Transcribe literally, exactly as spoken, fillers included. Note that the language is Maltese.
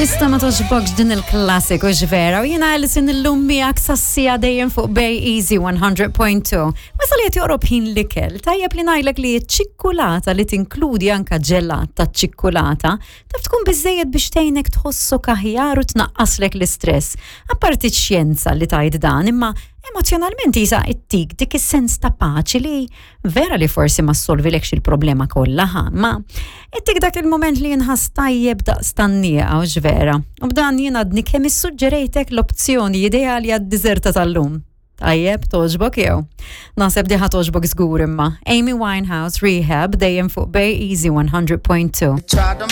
Tista ma togħġbokx din il-klassiku vera u jiena Alison illum miegħek sas-siegħa dejjem fuq Bay Easy one hundred point two. Mesa li qed joqrob ħin l-ikel, tajjeb li ngħidlek li ċ-ċikkulata li tinkludi anka ġelat ta' ċikkulata taf tkun biżejjed biex tgħinek tħossok aħjar u tnaqqaslek l-istress. Apparti xjenza li tajt dan, imma emozjonalment jisa ittik dik is-sens ta' paċi li vera li forsi ma ssolvilekx il-problema kollha ħa, ma ittik dak il-moment li jinħass tajjeb daqs tgħanniqa u vera. U b'dan jien għadni kemm issuġġerejtek l-opzjoni ideali għad-diżerta tal-lum. Tajjeb, togħġbok jew? Naħseb di ħa togħġbok żgur imma. Amy Winehouse, Rehab, dejjem fuq Bay Easy one hundred point two. Tried them.